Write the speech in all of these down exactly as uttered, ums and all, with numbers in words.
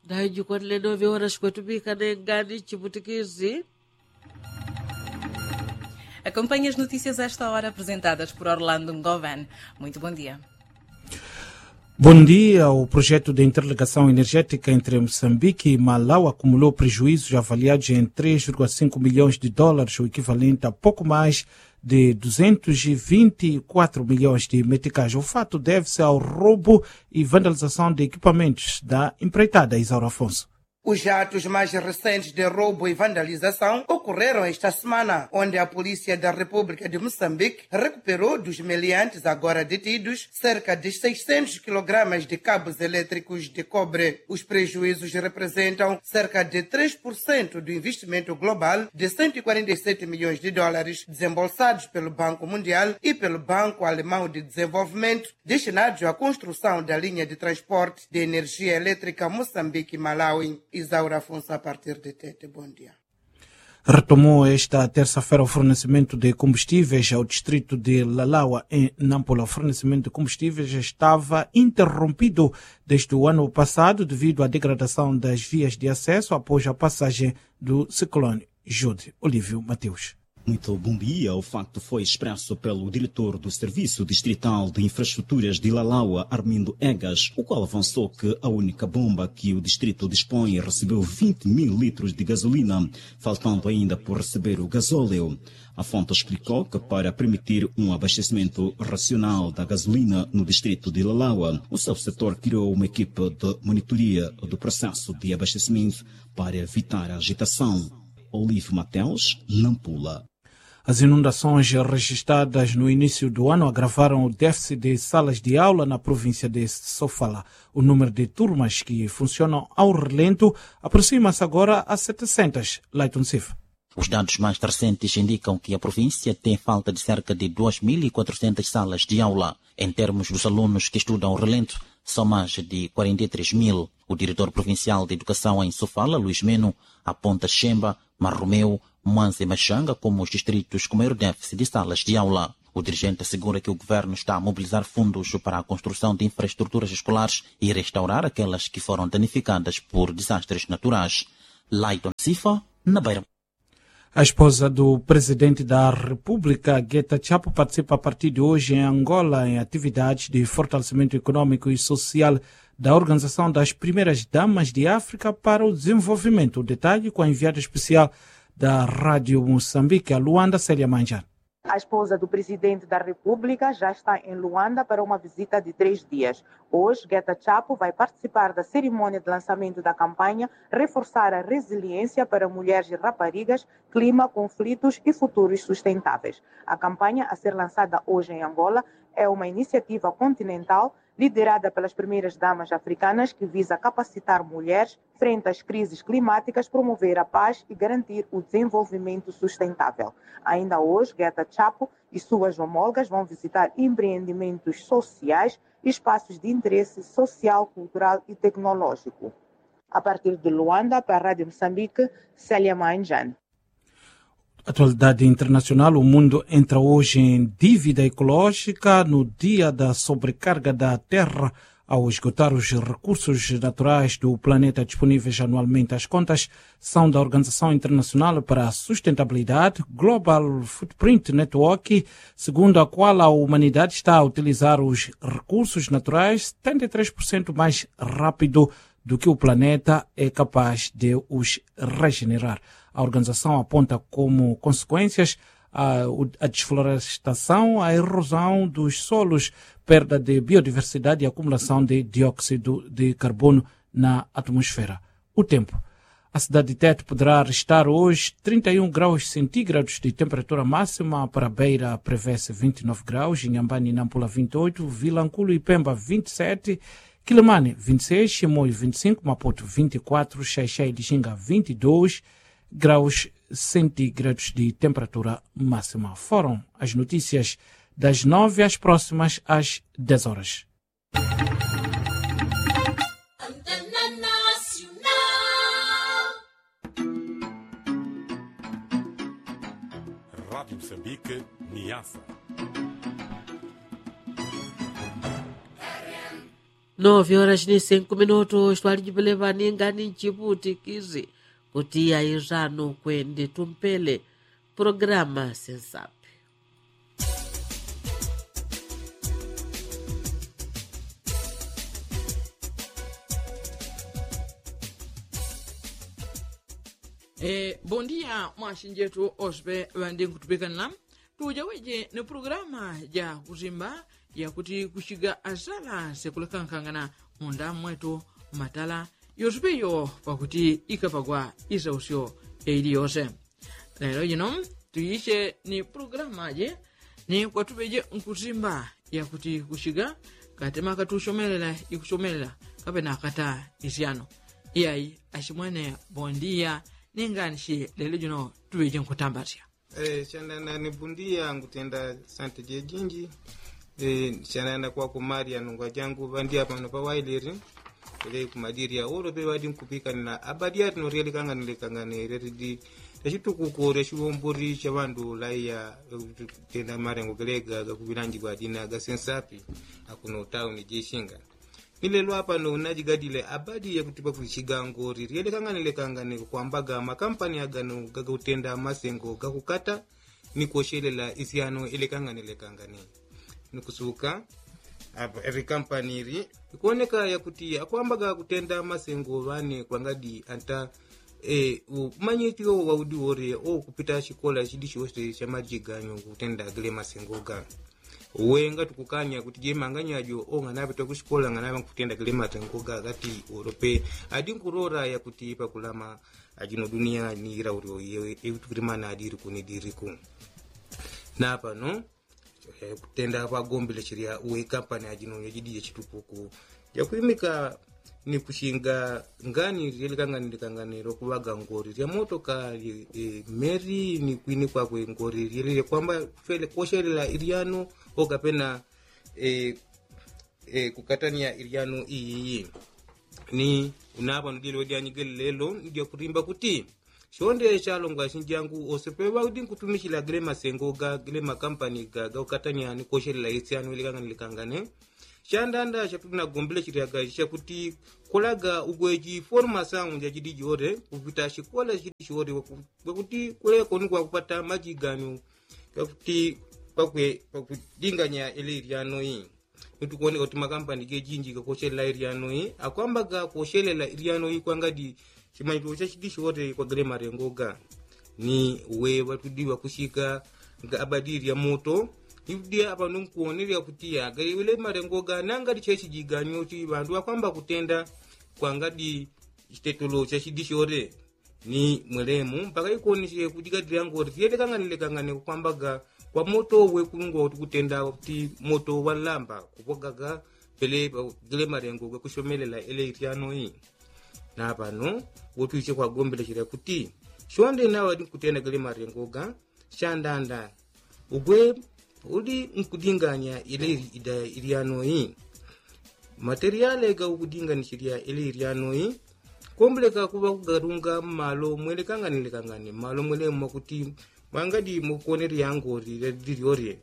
Dayi jikwanile novye ora shikwetupika nengani chiputikizi. Acompanhe as notícias esta hora apresentadas por orlando ngoven. Muito bom dia. Bom dia. O projeto de interligação energética entre moçambique e malau acumulou prejuízos avaliados em três vírgula cinco milhões de dólares, o equivalente a pouco mais de duzentos e vinte e quatro milhões de meticais. O fato deve-se ao roubo e vandalização de equipamentos da empreitada isaura afonso. Os atos mais recentes de roubo e vandalização ocorreram esta semana, onde a polícia da república de moçambique recuperou dos meliantes agora detidos cerca de seiscentos quilogramas de cabos elétricos de cobre. Os prejuízos representam cerca de três por cento do investimento global de cento e quarenta e sete milhões de dólares desembolsados pelo banco mundial e pelo banco alemão de desenvolvimento, destinados à construção da linha de transporte de energia elétrica moçambique malawi. Isaura afonso a partir de tete bom dia. Retomou esta terça-feira o fornecimento de combustíveis ao distrito de lalawa em nampula. O fornecimento de combustíveis estava interrompido desde o ano passado devido à degradação das vias de acesso após a passagem do ciclone jude. Olívio mateus. Muito bom dia. O facto foi expresso pelo diretor do serviço distrital de infraestruturas de lalawa armindo egas, o qual avançou que a única bomba que o distrito dispõe recebeu vinte mil litros de gasolina, faltando ainda por receber o gasóleo. A fonte explicou que para permitir um abastecimento racional da gasolina no distrito de lalawa, o seu setor criou uma equipe de monitoria do processo de abastecimento para evitar a agitação. Olive mateus, nampula. As inundações registadas no início do ano agravaram o déficit de salas de aula na província de sofala. O número de turmas que funcionam ao relento aproxima-se agora a setecentas. Laiton sifa. Os dados mais recentes indicam que a província tem falta de cerca de duas mil e quatrocentas salas de aula. Em termos dos alunos que estudam ao relento, são mais de quarenta e três mil. O diretor provincial de educação em sofala luís meno aponta xemba, marromeu, manse maxanga como os distritos com maior déficit de salas de aula. O dirigente assegura que o governo está a mobilizar fundos para a construção de infraestruturas escolares e restaurar aquelas que foram danificadas por desastres naturais. Laiton sifa, na beira. A esposa do presidente da república gueta chapo participa a partir de hoje em angola em atividades de fortalecimento econômico e social da organização das primeiras damas de áfrica para o desenvolvimento. O detalhe com a enviada especial da rádio moçambique a luanda célia manjan. A esposa do presidente da república já está em luanda para uma visita de três dias. Hoje gueta chapo vai participar da cerimônia de lançamento da campanha reforçar a resiliência para mulheres e raparigas, clima conflitos e futuros sustentáveis. A campanha a ser lançada hoje em angola é uma iniciativa continental liderada pelas primeiras damas africanas que visa capacitar mulheres frente às crises climáticas promover a paz e garantir o desenvolvimento sustentável. Ainda hoje gueta chapo e suas homólogas vão visitar empreendimentos sociais, espaços de interesse social cultural e tecnológico. A partir de luanda para a rádio moçambique, célia manjan. Atualidade internacional o mundo entra hoje em dívida ecológica no dia da sobrecarga da terra ao esgotar os recursos naturais do planeta disponíveis anualmente as contas são da organização internacional para a sustentabilidade global footprint network, segundo a qual a humanidade está a utilizar os recursos naturais setenta e três por cento mais rápido do que o planeta é capaz de os regenerar. A organização aponta como consequências a desflorestação a erosão dos solos, perda de biodiversidade e acumulação de dióxido de carbono na atmosfera. O tempo. A cidade de teto poderá restar hoje trinta e um graus centígrados de temperatura máxima para beira prevê-se vinte e nove graus inhambani nampula vinte e oito vilanculo e pemba vinte e sete, quilemane vinte e seis chimoi vinte e cinco maputo vinte e quatro xaixai de xinga vinte e dois graus centígrados de temperatura máxima. Foram as notícias das nove às próximas às dez horas. Rádio Moçambique, Niassa. Novyo ora chini senku minutu chitwali jipele ŵaningani nchiputikisi kuti airano kwende tumpele programa sensapi. Bondia mwashinjetu ospe ŵandi nkutupikanila tujaweje ni programa ja kusimba yakuti kuchiga asala sekulekankangana munda mwetu matala yosupe yo pakuti ikapagwa isausyo yaili yose. Lelo jino tuyiche ni programa je ni kwatupeje nkusimba yakuti kuchiga katema katusomelela ikusomelela kapena kata isyano. Iyai achimwene bondia. Ninganishi lelo jino tupeje nkutambasya. Chanana ni bundia ngutenda sante jejinji. Chanana kwaku maria nungwa jangu ŵandia pano pawailiri. Ele kumadiria olo pe ŵadi nkupikanila abadi atino rielekangane lekangane reridi rechitukuko rechiwombori chaŵandu laiya tenda marengo gelega gakuŵilanjigwa adina gasensapi. Akuno tauni jishinga. Ni lelo apano najigadile abadi yakutipa kuchiga ngori rielekangane lekangane kukwambaga makampani agano gagakutenda masengo gakukata ni koshelela isyano ilekangane lekangane. Ni kusuka apa eri kampani iri ikoneka yakuti akwambaga kutenda masengo ŵane kwangadi anta umanyiti wo waudi wore okupita shikola shidi shose shamajiganyo kutenda gile masengo ga. Uwe ngati kukanya kuti jemanganya jo o nganaŵe tokushikola nganaŵe nkutenda kile matengo ga gati olope. Adi nkurora yakuti pakulama ajino dunia ni ila ulio yewe ikutukilimana adi iliku ni diliku. Napano kutenda kwagombile chilya uwe kampani ajino nyojidi yechitukuku yakwimika ni kushinga ngani lyelekangani likangani lokuŵaga ngoli lya motoka. Meli ni kwini kwakwe ngoli lyelele kwamba koshelela ilyano okapena kukatania ilyano iyiyi. Ni unapano dyelelo dyanyigele lelo ni dyakulimba kuti shonde shalongwa shinjangu ose peŵaudi nkutumishila gele masengo ga gele makampani ga gakukatania ni koshelela isyano ilikangane likangane. Shandanda shatuli nagombile chilyaga shakuti kolaga ugweji forma saunja jidi jore kupita shikola shidi shore. Kwakuti kuleko ni kwakupata majiganyo gakuti kwakwe kwakudinganya ile ilyano ii. Nitukuoneka kuti makampani gejinji gakoshelela ilyano ii akwamba gakoshelela ilyano ii kwangadi chimanyilo chashidi shore kwagele malengo ga. Ni uwe ŵatudi ŵakushika nga abadi lya moto. Ni udi apano nkuonelya kuti yagale ule malengo ga nangadi cheshijiganyo chi ŵandu ŵakwamba kutenda kwangadi chitetolo chashidi shore. Ni mwelemu mpaka ikonishe kujigadila ngoti fyelekangane lekangane kukwambaga kwa moto uwe kulungwa uti kutenda uti moto walamba kupwagaga pele gele malengo gakushomelela ele ityano ii. Napano wotwiche kwagombelechela kuti shonde nawe adi nkutenda gele malengo ga shandanda. Ugwe udi nkudinganya ile ida ilyano ii. Materiale gaukudinganishilya ile ilyano ii kombeleka kuŵa kugatunga mmalo mwelekangane lekangane mmalo mwelemu mwakuti mwangadi mukuonelya ngoli lelilyo lye.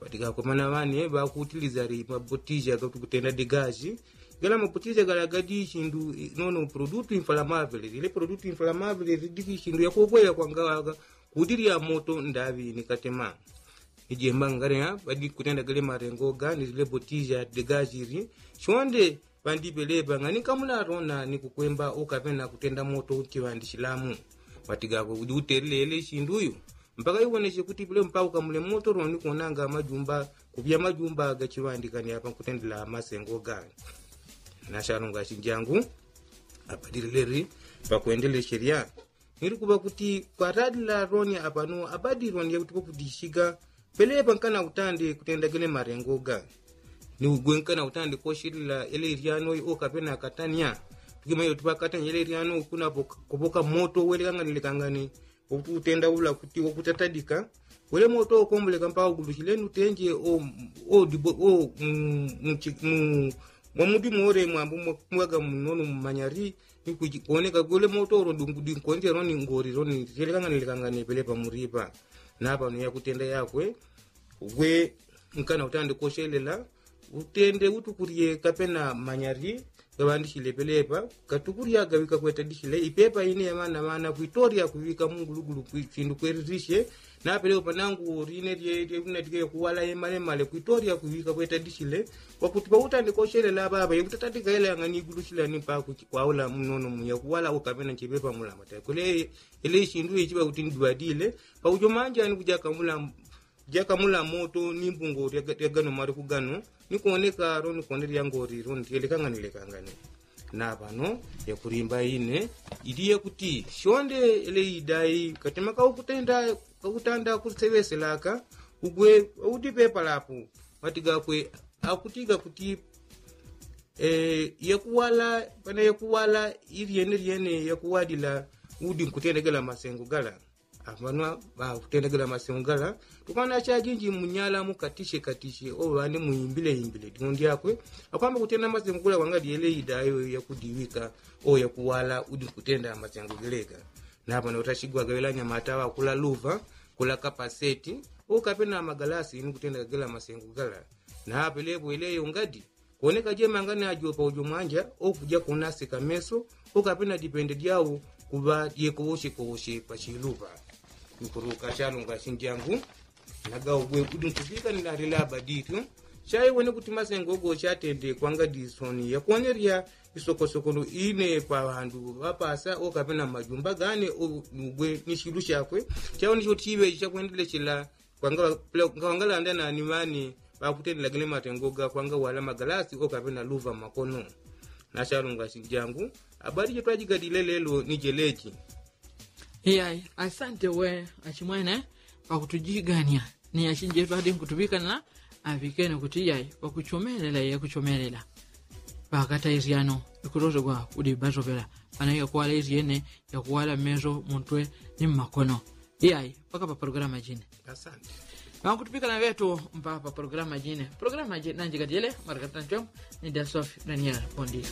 Ŵatigakwe mana ŵane ŵakutilizali mabotija gakuti kutenda digaji. Gala mabotija gala gadi shindu nono produtu inflamavele lile produtu inflamavele lidiki shindu yakukweya kwangawaga. Kuti lya moto ndaŵi ni katema. Ni jemba ngalea ŵadi kutenda gele malengo ga ni lile botija digaji li shonde. Ŵandi pelepa ngani nkamula lona ni kukwemba ukapena kutenda moto chiŵandi chilamu. Ŵatigakwe udi utelele shindu yu mpaka iwoneshe kuti pelepa mpaka ukamule moto lona ni kuonanga majumba kupya majumba gachiŵandi kani apa nkutendela masengo gani. Nashalonga shinjangu. Apadilileri pakwendeleshelya nilikuŵa kuti kwatadila loni apano abadi loni yakuti kwakudishiga. Pelepa nkana utande kutenda gele malengo ga ni ugwe nkana utande koshilila ele ilyano io kapena katanya. Tukimanyile kuti pakatanya ele ilyano kuna kupoka moto welekangane lekangane. Wakuti utenda ula kuti wakutatadika wele moto ukombeleka mpaka ugulushile nutenje o o dibo o mu mu mu mwamudimu ole mwambu mwaga munono mumanyali. Ni kuoneka gule moto ulo dungudinkonje loni ngoli loni lyelekangane lekangane pelepa mulipa. Napano yakutenda yakwe ugwe nkana utande koshelela utende utukurye kapena manyari gaŵandishile pelepa katukurya gaŵika kwetadishile ipepa ine yaŵana ŵana kwitorya kuŵika mungulugulu sindu kweririshe. Napelepa panangu line lyelinadike yakuwala yemalemale kwitorya kuŵika kwetadishile. Kwakuti pautandika ushelela ŵaŵa yekutatandigaila yang'ani igulu shilani paku kwaula munono muyakuwala ukapena nchepepa mulamata kule. Ile ishindu ichiŵa kuti ndibadile paujo manjani kujakamula moto ni mbungo lya gano maliku gano. Nikoneka ro nikone lyangoli ro ntyelekangani lekangani. Na pano yakulimba ine iliye kuti shonde ele idai katima kakutanda kuseŵeselaka ugwe. Udipepa lapo mati gakwe akutiga kuti yakuwala pana yakuwala ilyene lyene yakuwalila udi nkutendegela masengo gala. Apanwa ŵakutendegela masengo gala tukana chajinji munyala mukatishe katishe oŵane muimbile imbile dino ndyakwe. Akwamba kutenda masengo gala kwanga dyele idayo yakudiŵika o yakuwala udi nkutenda masengo gelega. Napano utashigwa gaŵela nyamata ŵakula luva kula kapaseti okapena magalasi inu kutenda gagela masengo gala. Napelepo ileyo ngadi kuoneka jemanga najo paujo mwanja okuja kunasika meso okapena dipende dyawo kuŵa dyekowoshekowoshe pachilupa. Nkuruka chalunga shinjangu nagaugwe udi nkupika ni nalilaba dityo. Chaiwene kuti masengo go chatende kwanga disoni yakuonerya isokosokolo ine pa ŵandu ŵapasa okapena majumba gane. Ugwe ni shilu shakwe chaiwene choti chiŵe chakwendelechela. Kwanga ŵangalanda nani ŵane ŵakutendela gene matengo ga kwanga wala magalasi okapena luva makono. Na chalunga shinjangu abali jetwajigadile lelo ni jeleji. Iyai asante we achimwene pakutujigania. Ni achinjetu adi nkutuŵikana aŵikene kuti iyai pakuchomelela yakuchomelela. Pakata isyano ikulosegwa udi basoŵela pana yakuwala isyene yakuwala mmeso muntwe ni mmakono. Iyai paka pa programa jine. Asante. Ŵankutupikana ŵetu mpa pa programa jine programa jine nanjikadyele marakatanchom. Ni dasofi daniel bondia.